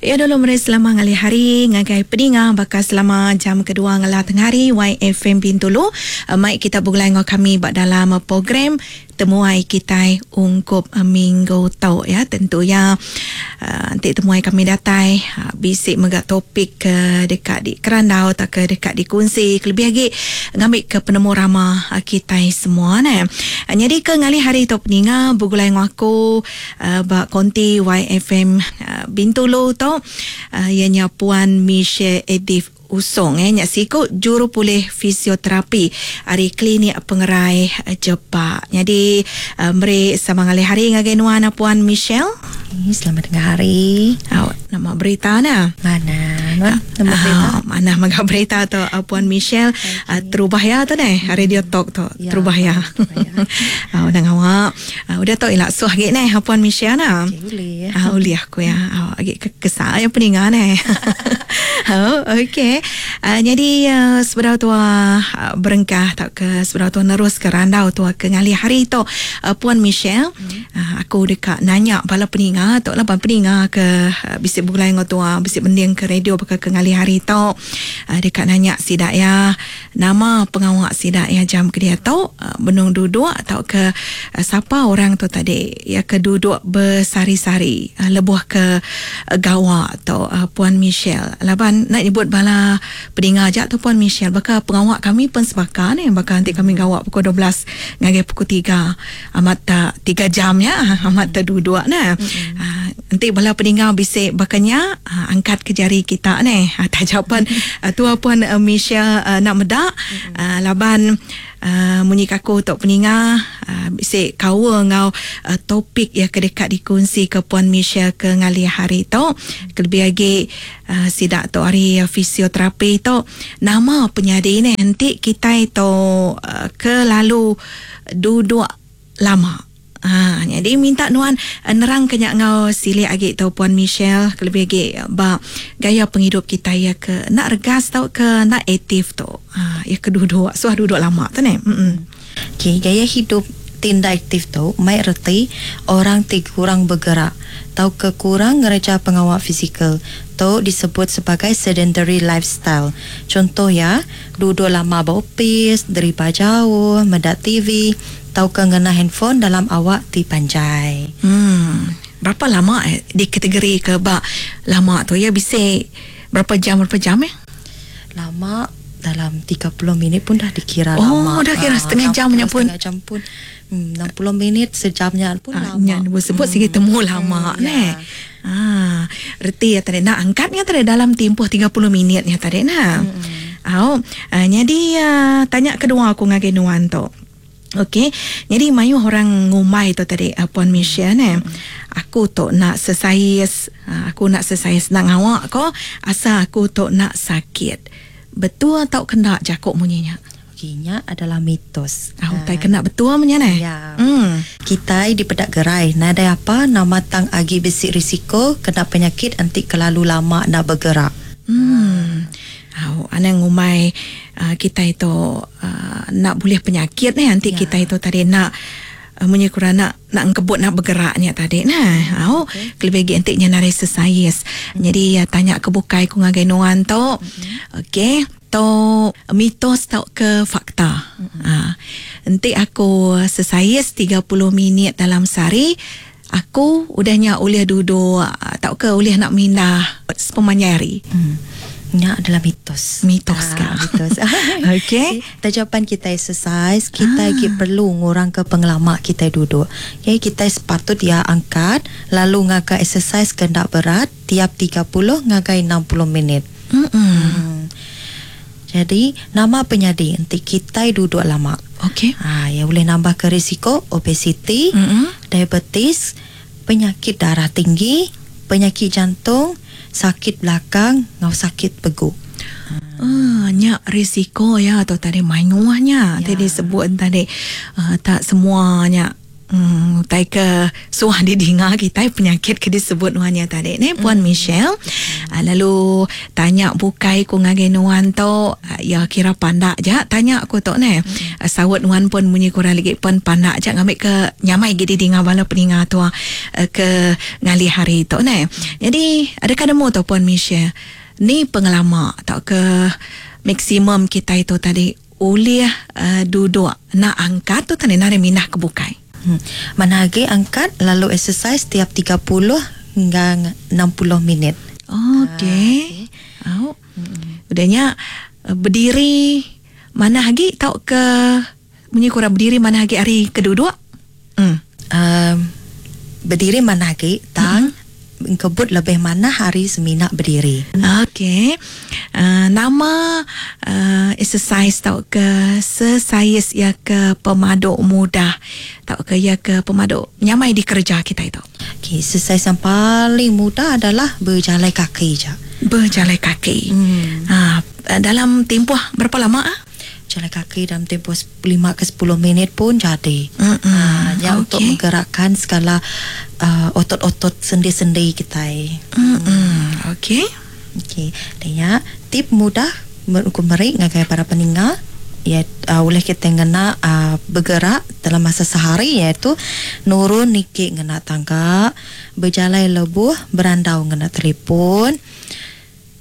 Ya dulu meri selama ngalih hari ngagai peninga baka selama jam kedua ngela tengah hari YFM Bintulu mai kita begulai enggau kami ba dalam program temuai kitai ungkup minggu tu ya. Tentu ya enti temuai kami datai bisi mega topik ke deka dikerandau tauka deka dikunsi kelebih agi ngambika penemu rama kitai semua neh. Nyadi ke ngalih hari tu peninga begulai enggau aku ba konti YFM Bintulu tu iya nya Puan Michelle Edith Usong iya nya siku jurupulih fisioterapi ari Klinik Pengerai Jepak. Nyadi meri sama ngalih hari ngagai nuan Puan Michelle. Selamat tengah hari. Au nama berita ne? Manah nuan nama berita. Manah mega berita tu Puan Michelle. Terubah iya tu neh radio talk tu terubah iya. Au nang awak. Udah tu ila suh agi neh Puan Michelle ne. Okay, ulih. Ulih aku ya. Agi ke kesa ya peninga neh. Okey. Nyadi sebedau tua berengkah tauka sebedau tua neruska randau tua ke ngalih hari tu Puan Michelle, aku deka nanya bala peninga tu laban peninga ke bisi begulai enggau tua bisi mending ke radio baka ke ngalih hari tu deka nanya sida iya Nama pengawa sida iya jam ke diatu benung duduk tauka sapa orang tu tadi iya ke duduk besehari-sehari lebuh ke gawa tu Puan Michelle. Laban enda nyebut bala peninga aja tu Puan Michelle baka pengawa kami pun sebaka neh baka enti kami gawa pukul 12 ngagai pukul 3 amat ta 3 jam nya amat ta duduk neh. Enti bala peninga bisi baka nya angkat ke jari kita neh taja pen tua pun Michelle enda meda laban munyi ka aku tu peninga bisi kaul enggau topik iya ke deka dikunsi ke Puan Michelle ke ngalih hari tu kelebih agi sida tu ari fisioterapi tu nama penyadi neh enti kitai tu kelalu duduk lama. Ha, nyadi minta nuan nerangka nya enggau silik agi tu Puan Michelle kelebih agi ba gaya pengidup kitai iya ke enda regas tauka enda aktif tu. Ha, iya ke duduk, suah duduk lama tu neh. Hemm. Okey, gaya hidup ti enda aktif tu mai reti orang ti kurang begerak tauka kurang ngereja pengawa fizikal. Tu disebut sebagai sedentary lifestyle. Chunto iya, duduk lama ba opis, deriba jauh, meda TV, tauka ngena handphone dalam awak ti panjai. Hmm. Berapa lama eh dikategorika ba lama tu iya bisi berapa jam berapa jam eh? Lama dalam 30 minit pun dah dikira oh, lama. Oh, dah kira setengah jam nya pun. Setengah jam pun. 60 minit sejam nya pun lama. Nya sebut sigi temu lama neh. Ah, reti iya tadi nak angkat nya tadi dalam timpuh 30 minit nya tadi nah. Au, nyadi tanya kedua aku ngagai nuan tu. Okey, nyadi mayuh orang ngumbai tu tadi Puan Michelle neh. Aku tu nak sesais, aku nak sesais nak ngawa ko asal aku tu nak sakit. Betul tauka enda jaku munyi nya? Okey, nya adalah mitos. Ah, utai kena betul menya neh. Ya. Kitai dipeda gerai nadai apa nama tang agi bisi risiko kena penyakit enti kelalu lama enda begerak. Hmm. Au, anang ngumbai kitai tu enda bulih penyakit neh enti kitai tu tadi enda munyi ku orang nak nak engkebut nak begerak nya tadi neh. Au, kelebih agi enti nya nadai sesais. Nyadi tanya ke bukai ku ngagai nuan tu. Okey. Tu mitos tauka fakta. Ha. Enti aku sesais 30 minit dalam sehari, aku udah nya ulih duduk tauka ulih nak mindah sepemanjai hari. Nya adalah mitos. Mitos ka. Mitos. Okey. Taja pan kitai exercise, kitai agi perlu ngurangka pengelama kitai duduk. Okey, kitai sepatut iya angkat lalu ngaga exercise ke enda berat tiap 30 ngagai 60 minit. Mm. Jadi, nama penyadi enti kitai duduk lama? Okey. Ha, iya ulih nambahka risiko obesiti, diabetes, penyakit darah tinggi, penyakit jantung, sakit belakang enggau sakit pegu. Ah, nya risiko iya tu tadi mayuh nya ti disebut tadi. Tak semua nya. Utai ke suah didinga kitai penyakit ke disebut nuan nya tadi neh Puan Michelle. Lalu tanya bukai ku ngagai nuan tu iya kira pandak ja tanya ku tu neh. Saut nuan pun munyi kurang lagi pun pandak ja ngambi ke nyamai agi didinga bala peninga tua ke ngalih hari tu neh. Nyadi adakah nemu tu Puan Michelle ni pengelama tauka maksimum kitai tu tadi ulih duduk enda angkat tu tadi nadai mindah ke bukai. Manah agi angkat lalu exercise tiap 30 hingga 60 minit. Okey. Au. Udah nya bediri manah agi tauka munyi ku orang bediri manah agi ari ke duduk? Bediri manah agi tang engkebut lebih manah ari semina bediri. Okey. Nama exercise tauka sesais iya ke pemadu mudah tauka iya ke pemadu nyamai dikereja kitai tu? Okey, exercise yang paling mudah adalah bejalai kaki ja. Bejalai kaki. Dalam tempoh berapa lama? Jalan kaki dalam tempoh 5 ke 10 minit pun jadi. Nya untuk menggerakkan segala otot-otot sendi-sendi kitai. Okey. Okey. Dan nya tip mudah ku meri ngagai para peninga ya ulih kita ngena bergerak dalam masa sehari iaitu nurun niki ngena tangga, bejalai lebuh berandau ngena telefon.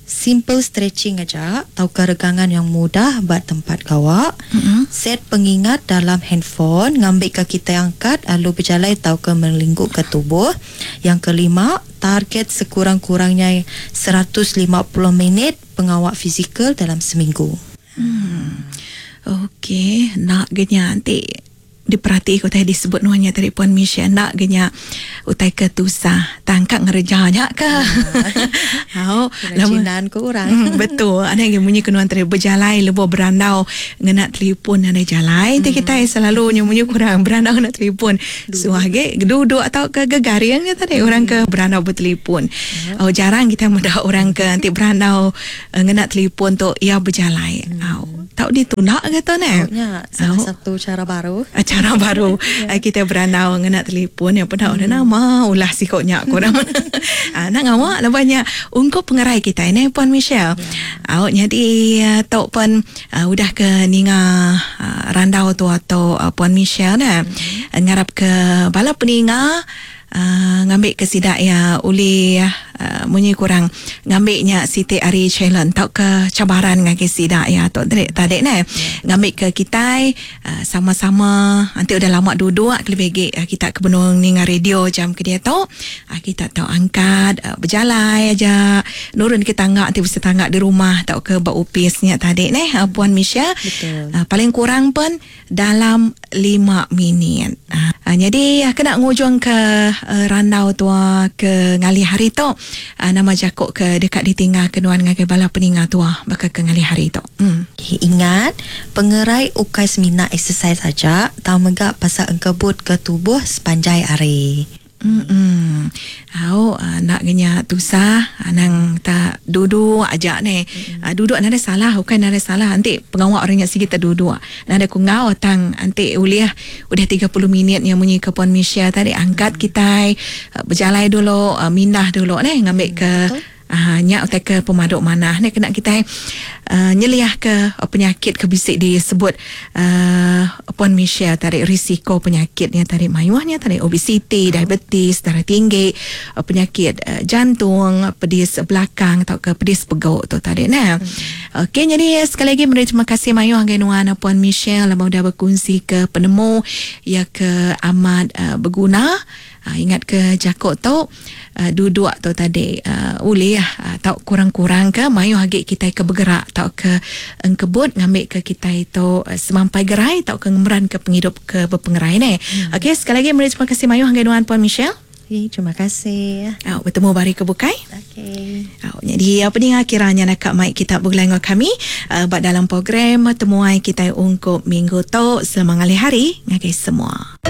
Simple stretching aja tauka regangan yang mudah ba tempat gawa. Set pengingat dalam handphone ngambika kitai angkat lalu bejalai tauka melingkuka tubuh. Yang kelima, target sekurang-kurangnya 150 minit pengawa fizikal dalam seminggu. Okey, enda ga nya enti diperati ke utai disebut nuan nya tadi Puan Michelle enda ga nya utai ke tusah tang ka ngereja nya ke. Au kerajinan ku orang. Betul anang agi munyi ke nuan tadi bejalai lebuh berandau ngena telefon nadai jalai enti kitai selalu nya munyi ku orang berandau ngena telefon suah agi duduk tauka gegaring nya tadi orang ke berandau betelefon. Au jarang kitai meda orang ke enti berandau ngena telefon tu iya bejalai. Au. Tau ditunda ke tu neh. Tau nya salah satu cara baru. Cara baru kita berandau ngena telefon ya peda orang nama ulah siko nya ku orang. Enda ngawa laban nya ungkup pengerai kitai neh Puan Michelle. Au nyadi tu pen udah ke ninga randau tua tu Puan Michelle neh. Ngarap ke bala peninga Ngambi ke sida iya ulih munyi kurang ngambi nya siti ari challenge tauka cabaran ngagai sida iya tu tadi neh. Ngambi ke kitai sama-sama enti udah lama duduk kelebih agi kita ke benung ninga radio jam ke diatu kita tau angkat bejalai aja nurun ke tangga ti bisi tangga di rumah tauka ba opis nya tadi neh Puan Michelle. Paling kurang pen dalam 5 minit. Nyadi kena ngujung ke randau tua ke ngalih hari tu nama jaku ke deka ditinggal ke nuan ngagai bala peninga tua baka ke ngalih hari tu. Ingat, pengerai ukai semina exercise aja tang mega pasal engkebut ke tubuh sepanjai hari. Emm. Au enda ga nya tusah anang ta duduk aja neh. Duduk nadai salah ukai nadai salah enti pengawa orang nya sigi ta duduk. Nadai ku enggau tang enti ulih udah 30 minit nya munyi ke Puan Michelle tadi angkat kitai bejalai dulu mindah dulu neh ngambi ke Aaa nya utai ke pemadu manah ne kena kitai aaa nyeliahka penyakit ke bisi disebut aaa Puan Michelle tadi risiko penyakit nya tadi mayuh nya tadi obesiti, diabetes, darah tinggi, penyakit jantung, pedis belakang tauka pedis pegu tu tadi neh. Okey nyadi sekali agi meri terima kasih mayuh ngagai nuan Puan Michelle laban udah bekunsika penemu iya ke amat beguna. Ingat ke jaku tu duduk tu tadi ulih tau kurang-kurang ke mayuh agi kitai ke begerak tauka engkebut ngambika kitai tu semampai gerai tauka ngemeranka pengidup ke bepengerai neh. Okey sekali agi meri terima kasih mayuh ngagai nuan Puan Michelle. Okey terima kasih. Au betemu ba hari ke bukai. Okey. Au nyadi peninga kira nya naka mai kita begulai enggau kami ba dalam program temuai kitai ungkup minggu tu. Selamat ngalih hari ngagai semua.